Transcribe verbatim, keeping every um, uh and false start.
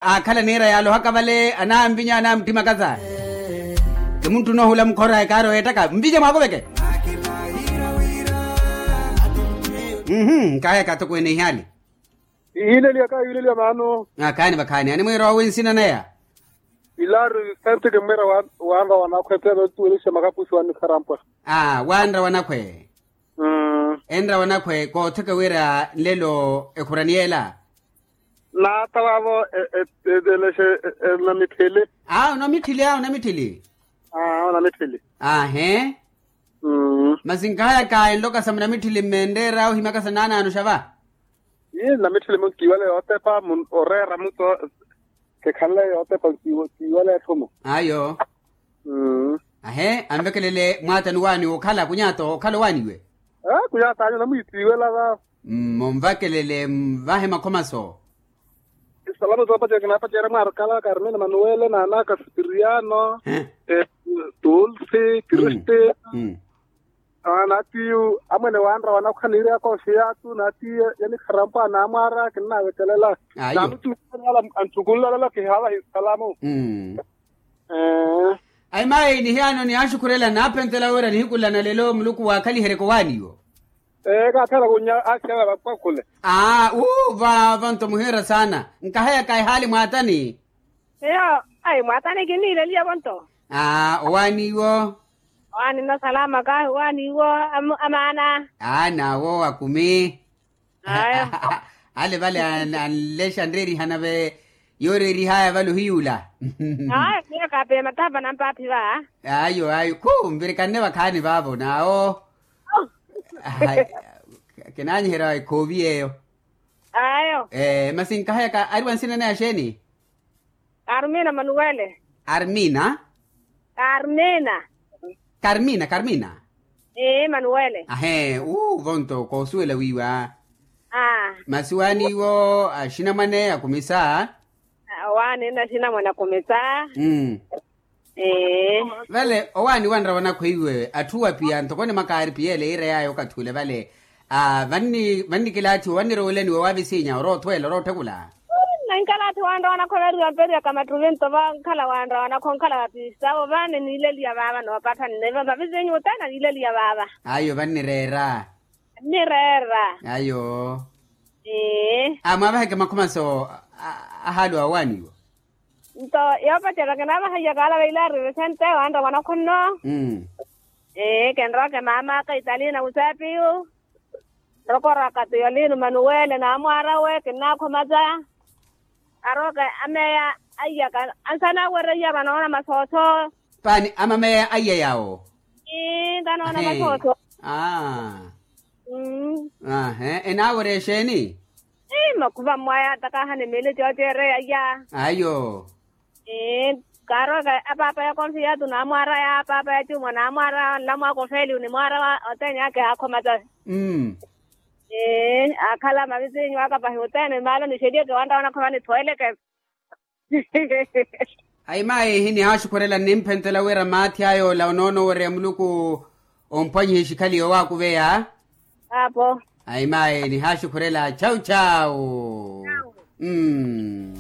aakhala niira yaalohaka vale anamvinya anamutthimaka sa. Ti munthu noohula mukhora ekaari oyeettaka mvinye mwaakuveke. Mhm. Nkahayaka atokweene ihaali. Ihiileliya kahiileliya maano. Akhaani vakhaani animwiira owi nsina naya. Ilaari sente kimmwiira wanra wanakhwe teelo tuwelixe makapusi wannikharampwa. Aa wanra wanakhwe. Enra wanakhwe kootheke wira nlelo ekhurani yeela. Naata waavo elexe. Namitthili. Aa onamitthili aa onamitthili. Aa onamitthili. Aahe. Masi nkahayaka enlokasa munamitthili mmenreera ohimakasa naanaano xava. Ii namitthili munkiiwale yootepa oreera muto. Kekhanle yootepa nkiiwale etthu mu. Ayo. Ahe anvekelele mwaatani owaaniwe okhala kunyaato okhala owaaniwe. Kunyaato anyu namwiitiiwela va. Monvakelele mvahe makhomaso. Isalamu soopacerya kinaapacerya mwaarikala karmina manuwele naanaka sipiriano. Tulsi kristina. Naatiyu amwene wanra wanakhwa niiriyaka oxiyatu naatiyu yanikharampwa naamwaara kinnavekelela. Nanutuuala anthukunlolelo kihaavahi salamu. Aimayi nihiyaano niyaaxukhurela naaphentela wira nihikulana lelo muluku waakhaliheryeke owaaniwo. Ee kaathela kunya asiya vapakhule. Aa uu vava nto muhiira saana. Nkahayaka ehaali mwaatani. Eyo ai mwaatani kinniileliyevo nto. Aa owaaniwo. Owaani nno salama kahi owaani iwo. Amaana. Aa naawo akumi. Ayo. Ale vale anlexa anreerihana ve. Yooreerihaya vale ohiyuula. Ayo miyo kaapeya matapa nampaaphi va. Ayo ayo khu nvirikanne vakhaani vaavo naawo. Kinaanyiherya ekhoovi yeeyo. Ayo. Masi nkahayaka ari wa nsina naya xeeni? Armina manuwele. Armina. Karmina. Karmina karmina. Ii manuwele. Ahe uuvo nto koosuwela wiiwa. Masi owaani iwo axinamwane akumisa. Owaani nno axinamwane akumisa. Vale owaani wanra wanakhwe iwe atthu wapiya ntoko onimwakaari piyeele yiira yaayo okathi ule vale. Vannikilaathi wannirowelaniwe waavisinya oroothweela orootthekula. Nankalaathi wanra wanakhwe veeriwa mpeeriyaka mattuvi nto vankhala wanra wanakhwe onkhala vapiistavo vani niileliya vaava noopatthani neve vavisinyu othene niileliya vaava. Ayo vannireera. Nireera. Ayo. Ii. Amwaavaheke makhomaso. Ahaali wa owaaniwo. Nto yoopacerya kinaavahaiyaka ala veilaari visente wanra wanakhwe nno. Ee kinroke maamaka italina musaapiyu. Nrokoraka tiyolino manuwele naamwaarawe kinnaakhomaza. Arooke ameya aiyaka ansanaawereiya vanoona masooso. Paani amameya aiya yaawo. Ii nkanoona masooso. Ahe enaawerya exeeni? Ii makhuva mmwaya takahani miili cooceereya aiya. Ayo. Ii kaarowaka apaapa ya konfiyatu naamwaaraya apaapa ya cuuma naamwaaraya onlamwaaka ofeeliwu nimwaaraya othene ake aakhomaza. Ii aakhala mavisinyu aka pahi othene maalo nixeliyeke wantta wanakhwe vanithoweleke. Ayimayi nihaaxukhurela nnimphentela wira maathi aya ola onoonowereya muluku. Omphwanyihe xikhaliye owaakuveya. Apo. Ayimayi nihaaxukhurela chau chau. Mmm.